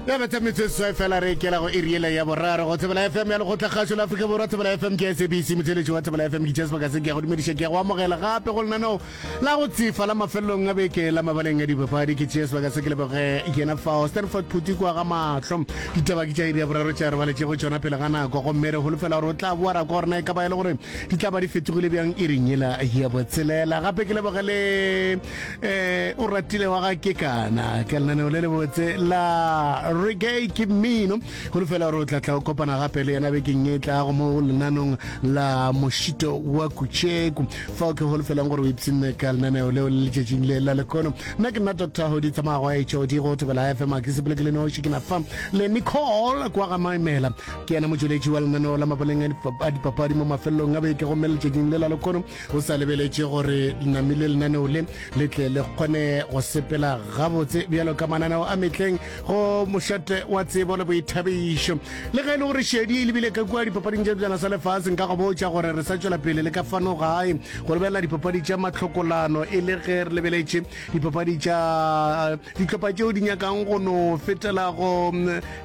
Ya betha metsotso seswai fela re ikela go iri yela ya boraro go Thobela FM ya Lekgotlakgašo la Afrika Borwa. Thobela FM ke SABC, motheeletši wa Thobela FM ke tšea sebaka se ke ya go dumediša, ke ya go amogela gape go lenaneo la go tsefa la mafelelong a beke la mabaleng a dipapadi. Ke tšea sebaka se ke leboge yena fao Stanford Phuti kwa ga mahlo. Ditaba ke tša iri ya boraro tša re baletšego tšona pele ga nako, gomme re holofela gore o tla boa ra kwa gore na e ka ba e le gore di tla ba di fetogile bjang iring yela ya botshelela. Gape ke leboge le Eh, o ratile wa ga Kekana ka lenaneo le lebotse la reggae ke mmino. Holofela gore o tla tla o kopana gape le yena bekeng e tlago mo lenanong la mošito wa Kutšeku, fao ke holofelang gore o ipshinne ka lenaneo leo le letšatšing le la lekono. Nna ke nna Dr Hodi Tsamagwa HOD go Thobela FM. A ke sepele ke le noši, ke na fa le Nicole kwa ga Maimela, ke yena motšweletši wa lenaneo la mabaleng a dipapadi mo mafelelong a beke. Gomme letšatšing le la lekono O sa lebeletše gore namile lenaneo le le tle le kgone go sepela gabotse bjalo ka mananeo a mehleng go mošate wa tsebo le boithabišo. Le ge e le gore šedi e lebile ka kua dipapading tša Sebjana sa Lefase, nka go botša gore re sa tšwela pele le ka fano gae go lebelela dipapadi tša mahlokolano e le ge re lebeletše dipapadi tša dihlopha tšeo di nyakang go no fetela go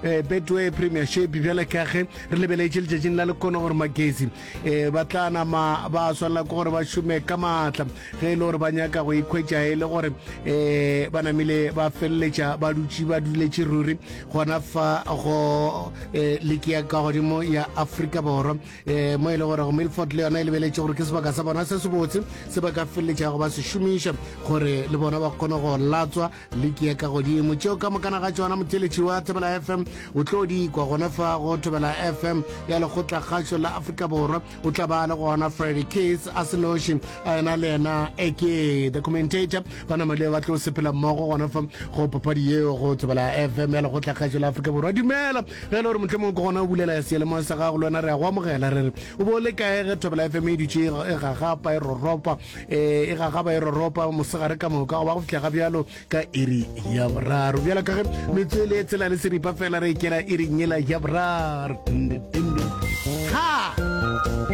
eh, Betway Premiership bjale ka ge re lebeletše letšatšing la lekono gore Magesi Ee, ba tla nama ba swanela ke gore ba šome ka maatla ge e le gore ba nyaka go ikhwetša e le gore um ba namile ba feleletša ba dutše ba duletše ruri gona fa go um liki ya ka godimo ya Afrika Borwa, um mo e le gore go Milford le yona e lebeletše gore ke sebaka sa bona se sebotse se ba ka feleletšago ba se šomiša gore le bona ba kgone go latswa Liki ya ka godimo. Tšeo ka mokana ga tšona motheeletši wa Thobela FM o tlo di kwa gona fa go Thobela FM ya Lekgotlakgašo la Afrika Borwa. O tla ba le gona Freddy Keys a se noši, a ena le yena AK the commentator. Ba namile ba tlo sepela mmogo gona fa go papadi yeo go Thobela FM ya Lekgotlakgašo la Afrika Borwa. Dumela ge e le gore mohlomongwe ke gona o bulela seyalemoya sa gago, le wena re a go amogela, re re o bo o le kae ge Thobela FM e dutše e gagapa e roropa. E, e gagaba e roropa mosegare ka moka go ba go fihla ga bjalo ka iri ya boraro. Bjalo ka ge metswele e tsela le seripa fela re ikela iring yela ya boraro. Ha!